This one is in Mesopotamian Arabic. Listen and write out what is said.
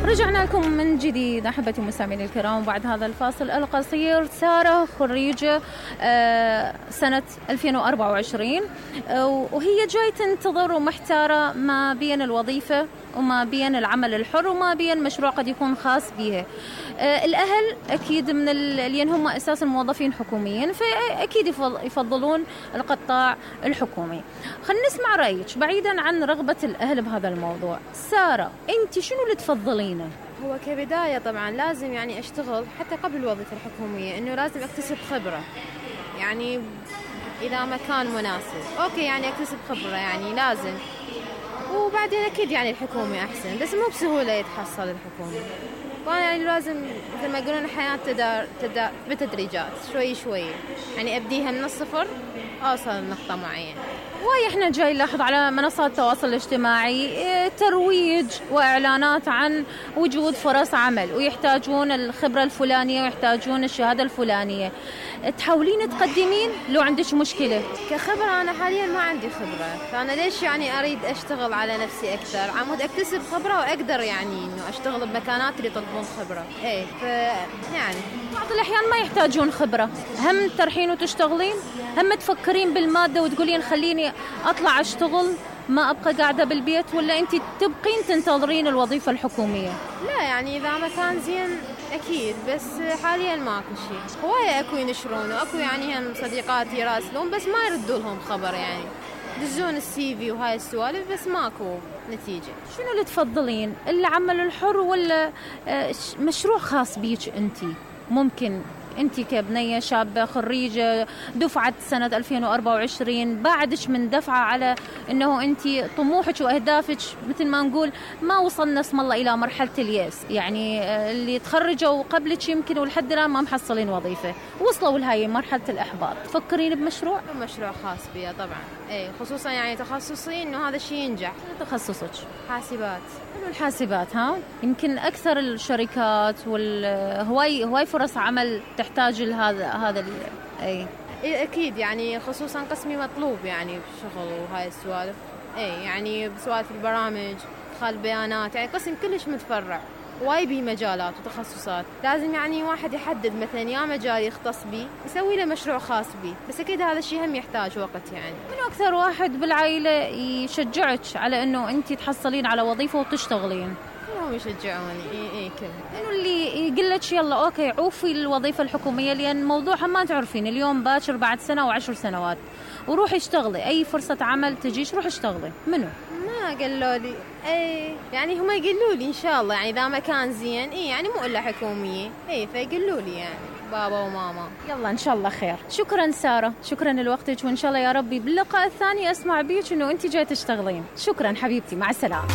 رجعنا لكم من جديد أحبتي المستمعين الكرام بعد هذا الفاصل القصير. سارة خريجة سنة 2024 وهي جاي تنتظر ومحتارة ما بين الوظيفة وما بين العمل الحر وما بين مشروع قد يكون خاص بها. الأهل أكيد من اللي هم أساسا موظفين حكوميين فأكيد يفضلون القطاع الحكومي. خلينا نسمع رأيك بعيدا عن رغبة الأهل بهذا الموضوع. سارة أنت شنو اللي تفضلينه؟ هو كبداية طبعا لازم يعني أشتغل حتى قبل الوظيفة الحكومية، إنه لازم أكتسب خبرة، يعني إذا مكان مناسب أوكي يعني أكتسب خبرة يعني لازم، وبعدين أكيد يعني الحكومي أحسن، بس مو بسهولة يتحصل الحكومي، فأنا يعني لازم مثل ما يقولون الحياة تدار بتدريجات شوي شوي، يعني أبديها من الصفر أوصل لنقطة معينة. هواي احنا جاي نلاحظ على منصات التواصل الاجتماعي ترويج واعلانات عن وجود فرص عمل ويحتاجون الخبرة الفلانية ويحتاجون الشهادة الفلانية. تحاولين تقدمين لو عندك مشكلة؟ كخبرة أنا حاليا ما عندي خبرة، فأنا ليش يعني أريد أشتغل على نفسي أكثر؟ عمود أكتسب خبرة وأقدر يعني إنه أشتغل بمكانات اللي تطلبون خبرة. إيه يعني بعض الأحيان ما يحتاجون خبرة، هم ترحين وتشتغلين، هم تفكرين بالمادة وتقولين خليني أطلع أشتغل ما أبقى قاعدة بالبيت، ولا أنت تبقين تنتظرين الوظيفة الحكومية؟ لا يعني إذا مكان زين أكيد، بس حاليا ماكو شيء. هواية أكو ينشرون وأكو يعني هم صديقاتي يراسلون بس ما يردوا لهم خبر، يعني يدزون السي في وهاي السوالف بس ماكو نتيجة. شنو اللي تفضلين، العمل الحر ولا مشروع خاص بيك أنت؟ ممكن أنت كبنية شابة خريجة دفعة سنة 2024 بعدش من دفعة على أنه أنت طموحك وأهدافك مثل ما نقول ما وصلنا اسم الله إلى مرحلة اليأس، يعني اللي تخرجوا قبلك يمكن ولحد الآن ما محصلين وظيفة وصلوا لهاي مرحلة الإحباط. تفكرين بمشروع؟ مشروع خاص بي طبعا، إيه خصوصا يعني تخصصي إنه هذا الشيء ينجح. تخصصك حاسبات. الحاسبات يمكن أكثر الشركات هواي فرص عمل تحتاج لهذا أي أكيد يعني خصوصا قسمي مطلوب يعني بالشغل وهاي السوالف، أي يعني بسوالف البرامج إدخال البيانات، يعني قسم كلش متفرع واي بيه مجالات وتخصصات. لازم يعني واحد يحدد مثلا يا مجال يختص بيه يسوي له مشروع خاص بيه، بس أكيد هذا الشيء هم يحتاج وقت. يعني من أكثر واحد بالعائلة يشجعك على أنه أنت تحصلين على وظيفة وتشتغلين؟ كلهم يشجعوني. إيه كلهم. إنه اللي يقول لك يلا أوكي عوفي الوظيفة الحكومية لأن موضوعها ما تعرفين اليوم باكر بعد سنة و10 سنوات، وروحي اشتغلي أي فرصة عمل تجيش روحي اشتغلي. منو؟ ما قالوا لي اي يعني هم يقولوا لي ان شاء الله يعني اذا مكان زين اي يعني مو الا حكوميه اي فيقولوا لي يعني بابا وماما. يلا ان شاء الله خير. شكرا ساره، شكرا لوقتك، وان شاء الله يا ربي باللقاء الثاني اسمع بيك انه انت جاي تشتغلين. شكرا حبيبتي، مع السلامه.